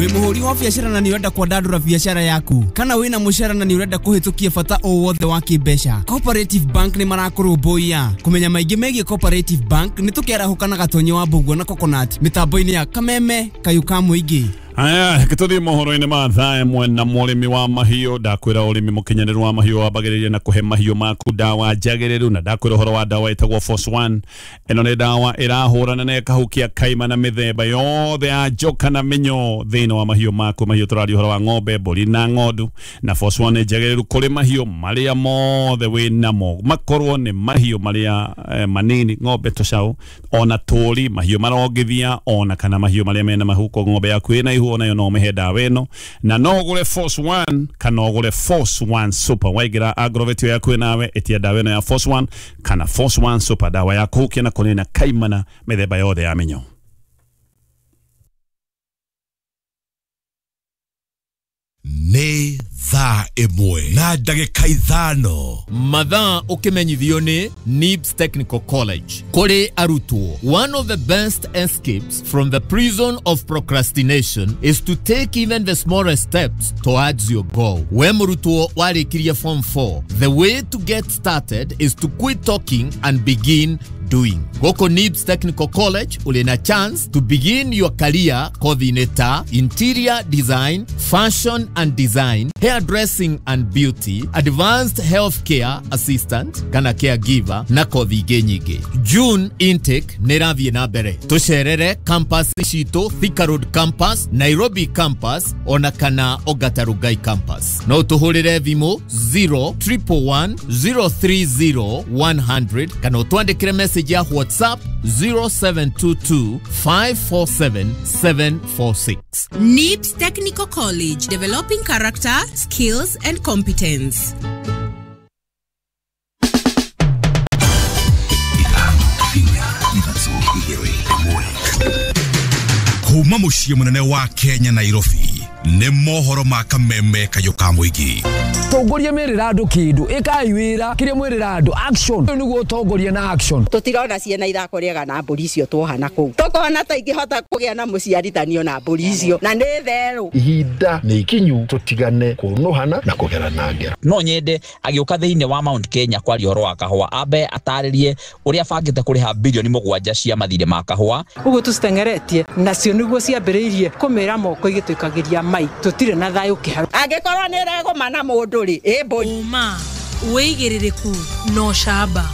Wĩ mũhũri wa biacara na nĩ ũrenda kwandandũra biacara yaku, kana wĩna mũcara na nĩ ũrenda kũhĩtũkia bata o wothe wa kĩmbeca, Cooperative Bank nĩ marakũrũmbũiya. Kũmenya maingĩ megiĩ Cooperative Bank nĩ tũkĩarahũka na Gatonye wa Mbũguo na Coconut mĩtambo-inĩ ya Kameme Kayũ ka Mũingĩ. Aya, tũthiĩ mohoro-inĩ ma thaa ĩmwe na mũrĩmi wa mahiũ. Ndakwĩra ũrĩmi mũkinyanĩru wa mahiũ wambagĩrĩria na kũhe mahiũ maku ndawa njagĩrĩru, na ndakwĩra ũhoro wa ndawa ĩtagwo Force One. Ĩno nĩ ndawa ĩrahũrana na ĩkahukia kaima na mĩthemba yothe ya njoka na mĩnyoo thĩinĩ wa mahiũ maku. Mahiũ tũraria ũhoro wa ng'ombe, mbũri na ng'ondu, na Force One nĩ njagĩrĩru kũrĩ mahiũ marĩa mothe wĩ namo, makorwo nĩ mahiũ marĩa manini, ng'ombe, tũcaũ, ona tũri, mahiũ marongithia, ona kana mahiũ marĩa mena mahuko. Ng'ombe yaku ĩna ihu onayo no ũmĩhe ndawa ĩno, na no ũgũre Force One kana ũgũre Force One Super. Waingĩra agrovet ĩyo yaku nawe, ĩtia ndawa ĩno ya Force One kana Force One Super, ndawa ya kũhukia na kũnina kaimana mĩthemba yothe ya mĩnyoo. Nĩ thaa 1 na ndagĩka 5. Mathaa ũkĩmenyithio nĩ NIBS Technical College. Kũrĩ arutwo, one of the best escapes from the prison of procrastination is to take even the smallest steps towards your goal. We mũrutwo warĩkirie form 4, the way to get started is to quit talking and begin doing. Goko NIBS Technical College uli na chance to begin your career kothi-inĩ ta interior design, fashion and design, hairdressing and beauty, advanced healthcare assistant kana caregiver na kothi ingĩ nyingĩ. June intake nĩ ĩrathiĩ na mbere. Tũcerere campus citũ, Thika Road campus, Nairobi campus ona kana Ongata Rongai campus. No tũhũrĩre thimũ 0 111 030 100 kana ũtwandĩkĩre message ya WhatsApp 0722 547 746. NIBS Technical College, developing character, skills and competence. 5, 4, 3, 2, 1. Kuma mũciĩ mũnene wa Kenya, Nairobi, nĩ mohoro ma Kameme Kayũ ka Mũingĩ. Tongoria merĩra andũ kĩndũ, ĩkai wĩra kĩrĩa mwĩrĩra andũ, action. Ũyũ nĩguo ũtongoria na action. Tũtirona ciana ithako rĩega na mbũri icio tuoha na kũu, tũkona ta ingĩhota kũgĩa na mũciarithanio na mbũri icio na nĩ therũ. Ihinda nĩ ikinyu tũtigane kũnũhana na kũgerana ngero. No nyende agĩũka thĩinĩ wa Mount Kenya kwaria ũhoro wa kahũa, ambe atarĩrie ũrĩa abangĩte kũrĩha birioni 7 cia mathirĩ ma kahũa. Ũguo tũcitengeretie nacio nĩguo ciambĩrĩirie kũmĩra moko igĩtũikagĩria mai, tũtirĩ na thayũ kĩharo. Angĩkorwo nĩ ĩregũma na mũndũ rĩ, ĩ mbũri. Ũma, wĩigĩrĩrĩku na ũcamba.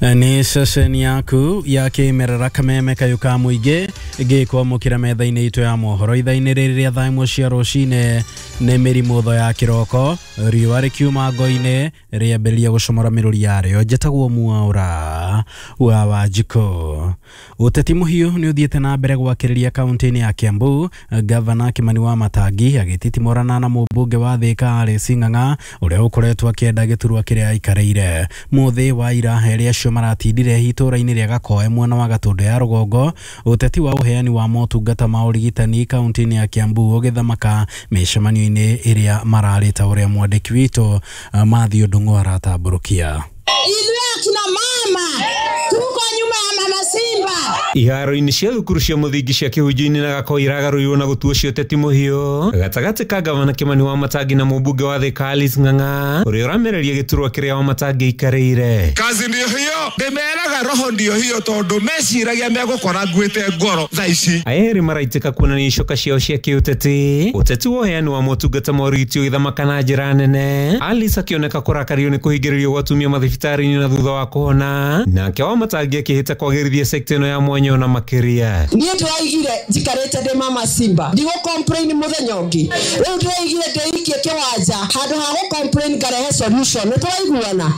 Nĩ ceceni yaku ya kĩmerera Kameme Kayũ ka Mũingĩ ngĩkwamũkĩra metha-inĩ itũ ya mohoro ithaa-inĩ rĩrĩ rĩa thaa 1 cia rũcinĩ. Nĩ mĩrimũ ya kĩroko, riũa rĩkiuma ngo-inĩ rĩambĩrĩria gũcomora mĩrũri yarĩo. Njĩtagwo Mwaũra wa Wanjikũ. Ũteti mũhiũ nĩ ũthiĩte na mbere gwakĩrĩria kaunti-inĩ ya Kiambu, gavana Kimani wa Matangi agĩtitimũrana na mũmbunge wa Thika Alice Ng'ang'a ũrĩa ũkoretwo akĩenda gĩturwa kĩrĩa aikarĩire. Mũthĩ wa ira erĩ acio maratindire itũra-inĩ rĩa Gakoe mwena wa Gatũndũ ya rũgongo, ũteti wa ũheani wa motungata ma ũrigitani kaunti-inĩ ya Kiambu ũgĩthamaka mĩcemanio-inĩ ĩrĩa mararĩ, ta ũrĩa mwandĩki witũ Matthew Ndung'u aratambũrũkia. Ithuĩ akina mama tuko nyuma ya mama Simba. Iharo-inĩ cia thukuru cia mũthingi cia Kĩhunjio-inĩ na Gakoo iragarũrirwo na gũtuo cia ũteti mũhiũ gatagatĩ ka gavana Kimani wa Matangi na mũmbunge wa Thika Alice Ng'ang'a ũrĩa ũramereria gĩturwa kĩrĩa wa Matangi aikarĩire. Kazi ndio hiyo, ndĩmeraga roho ndio hiyo, tondũ meciragia megũkora nguĩte ngoro thaa ici. Aya erĩ maraitĩka kuonania icoka ciao cia kĩũteti, ũteti wa ũheani wa motungata ma ũrigiti ũgĩthamaka na njĩra nene, Alice akĩoneka kũrakario nĩ kũhingĩrĩrio gwa atumia mathibitarĩ-inĩ na thutha wa kũhona, nake wa Matangi akĩhĩta kwagĩrithia sekta ĩno ya mwanya ona makĩria. Niĩ ndĩraigire njikarĩte ndĩ mama Simba, ndigũ complain mũthenya ũngĩ. Rĩu ndĩraigire ndĩikie kĩwanja, handũ ha gũ complain ngarehe solution. Nĩ tũraiguana,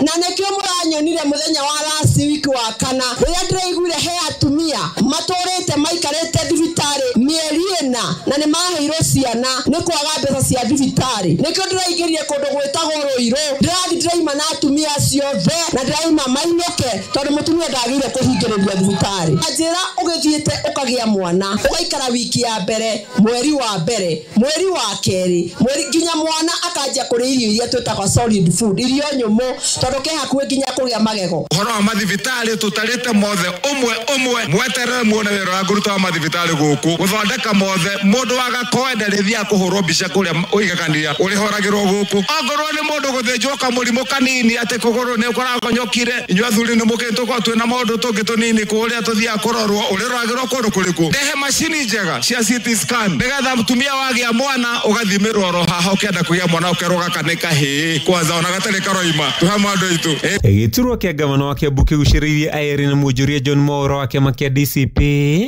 na nĩkĩo mũranyonire mũthenya wa last week wa kana, rĩrĩa ndĩraiguire he atumia matũrĩte maikarĩte thibitarĩ mĩeri 4 na nĩ maheirwo ciana nĩ kwaga mbeca cia thibitarĩ. Nĩkĩo ndĩraingĩrire kũndũ gwĩtagwo Rũirũ, ndĩrathiĩ ndĩraima na atumia acio othe na ndĩraima mainũke, tondũ mũtumia ndagĩrĩire kũhingĩrĩrio thibitarĩ. Njĩra ũgĩthiĩte ũkagĩa mwana, ũgaikara wiki ya mbere, mweri wa mbere, mweri wa kerĩ, mweri nginya mwana akanjia kũrĩa irio iria twĩtaga solid food, irio nyũmũ, tondũ ke hakuhĩ nginya kũgĩa magego. Ũhoro wa mathibitarĩ tũtarĩte mothe ũmwe ũmwe, mweterere muone wĩra wa ngũruta wa mathibitarĩ gũkũ gũthondeka mothe. yothe mũndũ wa Gakoe ndarĩthiaga kũhũrwo mbica kũrĩa ũigaganĩria ũrĩhoragĩrwo gũkũ. Ongorwo nĩ mũndũ gũthĩnjwo kamũrimũ kanini atĩ kũgũrũ nĩ kũragonyokire, inyuĩ athuri nĩ mũkĩ tũkorwo twĩna maũndũ tũngĩ tũnini kũrĩa tũthiaga kũrorwo, ũrĩroragĩrwo kũndũ kũrĩkũ? Ndehe macini njega cia CT scan nĩgetha mũtumia wagĩa mwana ũgathimĩrwo oro haha ũkĩenda kũgĩa mwana ũkerwo gaka nĩ kahĩĩ kwanza ona gatarĩ karoima tũhe andũ aitũ. Gĩturwa kĩa gavana wa Kiambu kĩgucĩrĩirie Irene na Mwonjoria John Mwaura wa kĩama kĩa DCP.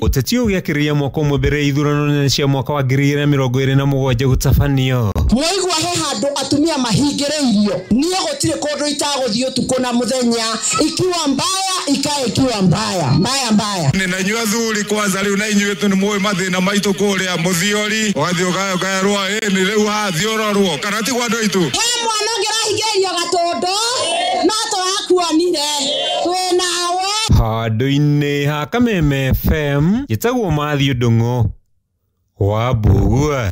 Ũteti ũyũ ũgĩakĩrĩria mwaka ũmwe mbere ya ithurano nene cia mwaka wa 2027 gũtabanio. Mwaigua he handũ atumia mahingĩrĩirio, niĩ gũtirĩ kũndũ itagũthiĩ ũtukũ na mũthenya, ikiwa mbaya ikae ikiwa mbaya mbaya mbaya. Nĩ na inyuĩ athuri kwanza rĩu na inyuĩ tu nĩ mũĩ mathĩna maitũ kũrĩa mũthiori ũgathiĩ ũkerwo ĩ nĩ rĩu hathiĩ ũrorwo kana ti kwa andũ aitũ. He mwana ũngĩ ũrahingĩrĩirio Gatũndũ no tũrakuonire twĩ nawe. Handũ-inĩ ha Kameme FM njĩtagwo Matthew Ndung'u wa Mbugua.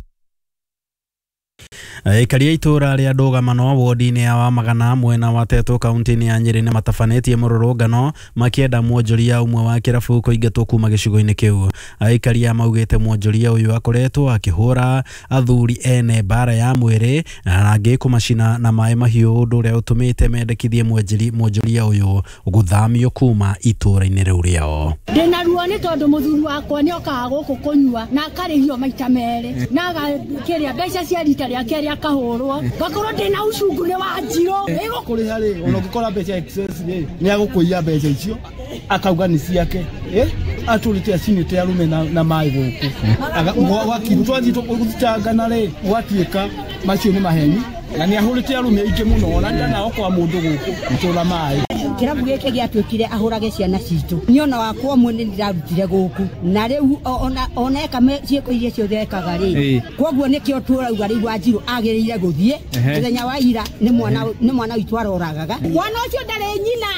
Aikari a itũra rĩa Ndũgamano wodi-inĩ ya Wamagana mwena wa Tetu kaunti-inĩ ya Nyĩrĩ nĩmatabanĩtie mũrũrũngano makĩenda mwonjoria ũmwe wa kĩrabu kũingatwo kuma gĩcigo-inĩ kĩu. Aikari aya maugĩte mwonjoria ũyũ akoretwo akĩhũra athuri ene mbara ya mwĩrĩ na angĩ kũmacina na maĩ mahiũ, ũndũ ũrĩa ũtũmĩte mendekithie mwonjoria ũyũ gũthamio kuma itũra-inĩ rĩu rĩao. Ndĩna ruo nĩ tondũ mũthuri wakwa nĩokaga gũkũ kũnyua na akarĩhio maita merĩ na agakĩrĩa mbeca cia rita rĩake rĩa akahũrwo ngakorwo ndĩna ucungu nĩ wa njirũ. Kũrĩha rĩ, ona ũngĩkora mbeca excess rĩ, nĩ agũkũiya mbeca icio akauga nĩ ciake, atũrĩte acinĩte arũme na maĩ gũkũ gwathiĩ gũthitangana rĩ, gwatuĩka macio nĩ maheni na nĩ ahũrĩte arũme aingĩ mũno ona ndanao kwa mũndũ gũkũ gũtũra maĩ. Kĩrabu gĩkĩ gĩatuĩkire ahũrage ciana citũ, niĩ ona wakwa ũmwe nĩ ndĩrarutire gũkũ na rĩu ona eka ciĩko iria ciothe ekaga rĩ, koguo nĩkĩo tũrauga rĩu Wanjirũ agĩrĩire gũthiĩ mũthenya wa ira nĩ mwana witũ aroragaga. Mwana ũcio ndarĩ nyina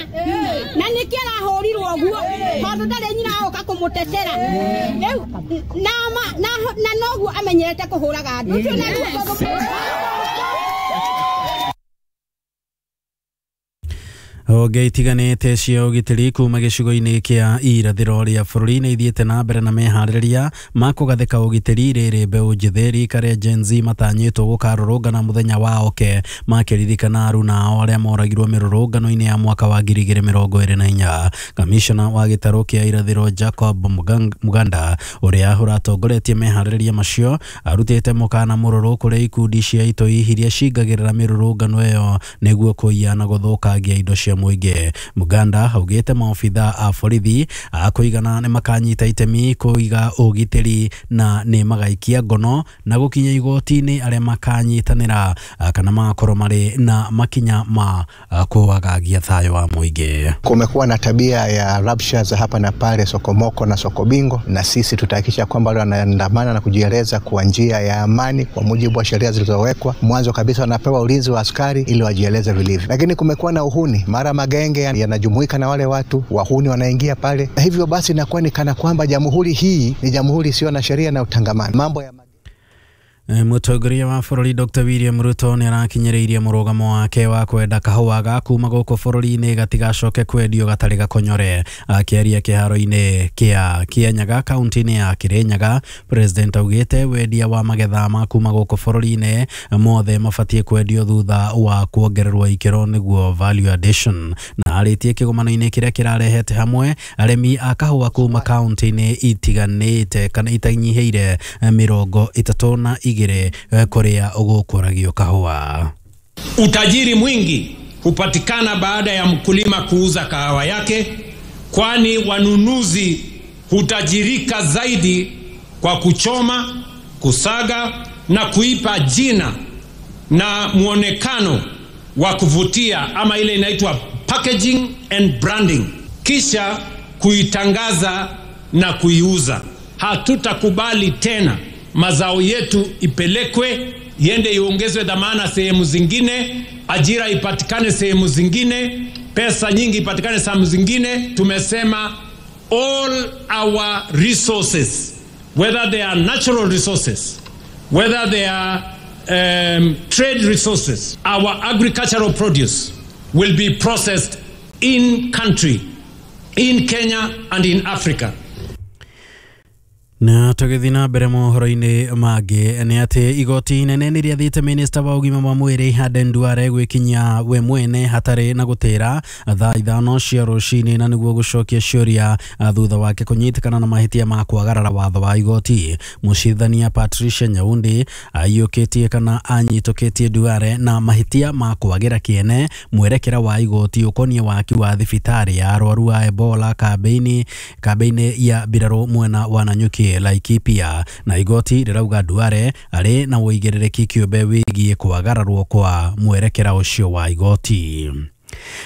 na nĩkĩo arahũrirwo ũguo tondũ ndarĩ nyina agoka kũmũtetera rĩu na noguo amenyerete kũhũraga andũ ũcio na Honge itiganĩte cia ũgitĩri kuma gĩcigo-inĩ kĩa irathĩro rĩa bũrũri nĩ ithiĩte na mbere na meharĩrĩria ma kũgathĩka ũgitĩri rĩrĩ mbeũ njĩthĩ rika rĩa Gen Z matanyĩtwo gũkarũrũngana mũthenya wa oke makĩririkana aruna ao arĩa moragirwo mĩrũrũngano-inĩ ya mwaka wa 2024. Kamishna wa gĩtarũ kĩa irathĩro Jacob Muganda ũrĩa ũratongoretie meharĩrĩria macio arutĩte mũkana mũrũrũ kũrĩ ikundi cia itoi iria cingagĩrĩra mĩrũrũngano ĩyo nĩguo kũiya na gũthũkangia indo cia mũingĩ. Muganda augĩte maobitha a borithi a kũigana nĩ makanyita itemi kũiga ũgitĩri na nĩ magaikia ngono na gũkinya igoti-inĩ arĩa makanyitanĩra kana magakorwo marĩ na makinya ma kuwagagia thayũ wa mũingĩ. Kumekuwa na tabia ya raptures hapa na pale, sokomoko na sokobingo, na sisi tutahakikisha kwamba wale wanaandamana na kujieleza kwa njia ya amani kwa mujibu wa sheria zilizowekwa. Mwanzo kabisa wanapewa ulinzi wa askari ili wajieleze vilivyo, lakini kumekuwa na uhuni, mara magenge yanajumuika na wale watu wahuni wanaingia pale, na hivyo basi inakuwa ni kana kwamba jamhuri hii ni jamhuri isiyo na sheria na utangamano. Mambo ya Mũtongoria wa bũrũri Dr. William Ruto nĩ arakinyĩrĩirie mũrũgamo wake wa kwenda kahũa ga kuma gũkũ bũrũri-inĩ gatigacoke kwendio gatarĩ gakonyore. Akĩaria kĩharo-inĩ kĩa Kĩanyaga kaunti-inĩ ya Kĩrĩnyaga, President augĩte wendia wa magetha ma kuma gũkũ bũrũri-inĩ mothe mabatiĩ kwendio thutha wa kuongererwo ikĩro nĩguo value addition. Na arĩtie kĩgomano-inĩ kĩrĩa kĩrarehete hamwe arĩmi a kahũa kuma kaunti-inĩ itiganĩte kana itanyihĩire 32 kũrĩa gũkũragio kahũa. Utajiri mwingi hupatikana baada ya mkulima kuuza kahawa yake, kwani wanunuzi hutajirika zaidi kwa kuchoma, kusaga na kuipa jina na muonekano wa kuvutia, ama ile inaitwa packaging and branding, kisha kuitangaza na kuiuza. Hatutakubali tena mazao yetu ipelekwe, iende iongezwe dhamana sehemu zingine, ajira ipatikane sehemu zingine, pesa nyingi ipatikane sehemu zingine. Tumesema all our resources, whether they are natural resources, whether they are trade resources, our agricultural produce will be processed in country, in Kenya and in Africa. Na tũgĩthiĩ na mbere mohoro-inĩ mangĩ nĩ atĩ igoti inene nĩ rĩathĩte minista wa ũgima wa mwĩrĩ Aden Duale gwĩkinyia we mwene hatarĩ na gũtĩra thaa 5 cia rũcinĩ na nĩguo gũcokia ciũria thutha wake kũnyitĩkana na mahĩtia ma kwagarara watho wa igoti. Mũcirithania Patricia Nyaundi aiyũkĩtie kana anyitũkĩtie Duale na mahĩtia ma kwagĩra kĩene mwerekera wa igoti ũkoniĩ waki wa thibitarĩ ya arwaru a Ebola kambĩ-inĩ ya mbirarũ mwena wa Nanyuki Laikipia, na igoti rĩrauga Duale arĩ na ũigĩrĩrĩki kĩũmbe wĩgiĩ kwagararwo kwa mwerekera ũcio wa igoti.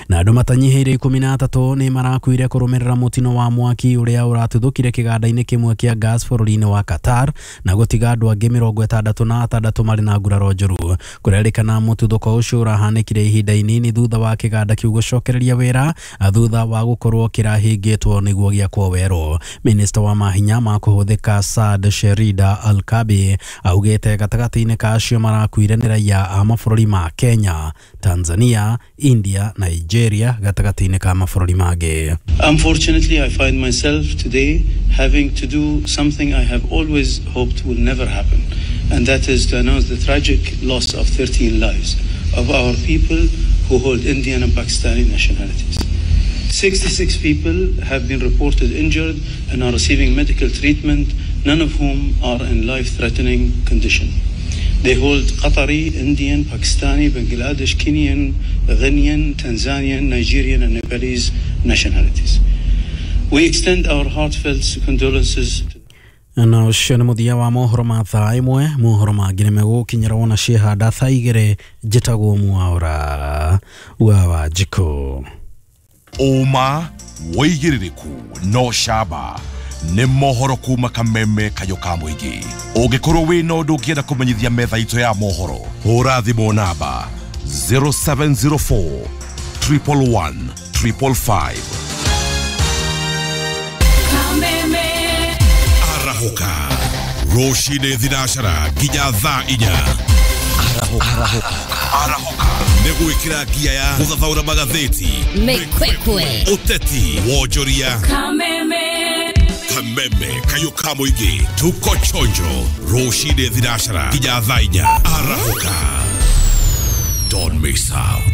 Na andũ matanyihĩire 13 nĩ marakuire kũrũmĩrĩra mũtino wa mwaki ũrĩa ũratuthũkire kĩganda-inĩ kĩmwe kĩa gas bũrũri-inĩ wa Qatar na gũtiga andũ angĩ 66 marĩ na nguraro njũru. Kũrerĩkana mũtuthũko ũcio ũrahanĩkire ihinda inini thutha wa kĩganda kĩu gũcokereria wĩra thutha wa gũkorwo kĩrahingĩtwo nĩguo gĩakwo werũ. Minista wa mahinya ma kũhũthĩka Saad Sherida Al-Kabi augĩte gatagatĩ-inĩ ka acio marakuire nĩ raia a mabũrũri ma Kenya, Tanzania, India, Nigeria gatagatĩ-inĩ ka mabũrũri mangĩ. Unfortunately, I find myself today having to do something I have always hoped will never happen, and that is to announce the tragic loss of 13 lives of our people who hold Indian and Pakistani nationalities. 66 people have been reported injured and are receiving medical treatment, none of whom are in life-threatening condition. They hold Qatari, Indian, Pakistani, Bangladesh, Kenyan, Ghanaian, Tanzanian, Nigerian, and Nepalese nationalities. We extend our heartfelt condolences to na ũcio nĩ mũthia wa mohoro ma thaa 1. Mohoro mangĩ nĩ megũkinyĩra wona ciĩhanda thaa 2. Njĩtagwo Mwaũra wa Wanjikũ. Ũma wĩigĩrĩrĩku no camba nĩ mohoro kuma Kameme kayũ ka mũingĩ. Ũngĩkorwo wĩna ũndũ ũngĩenda kũmenyithia metha itũ ya mohoro, hũra thimũ namba 0704 111 555. Arahũka rũcinĩ thinacara nginya thaa 4. Arahũka nĩ gwĩkĩra ngia ya gũthathaũra magathĩti, mĩkwekwe, ũteti, wonjoria. Kameme kayũ ka mũingĩ, tuko chonjo rũcinĩ thinacara nginya thaa 4. Arahũka, don't miss out.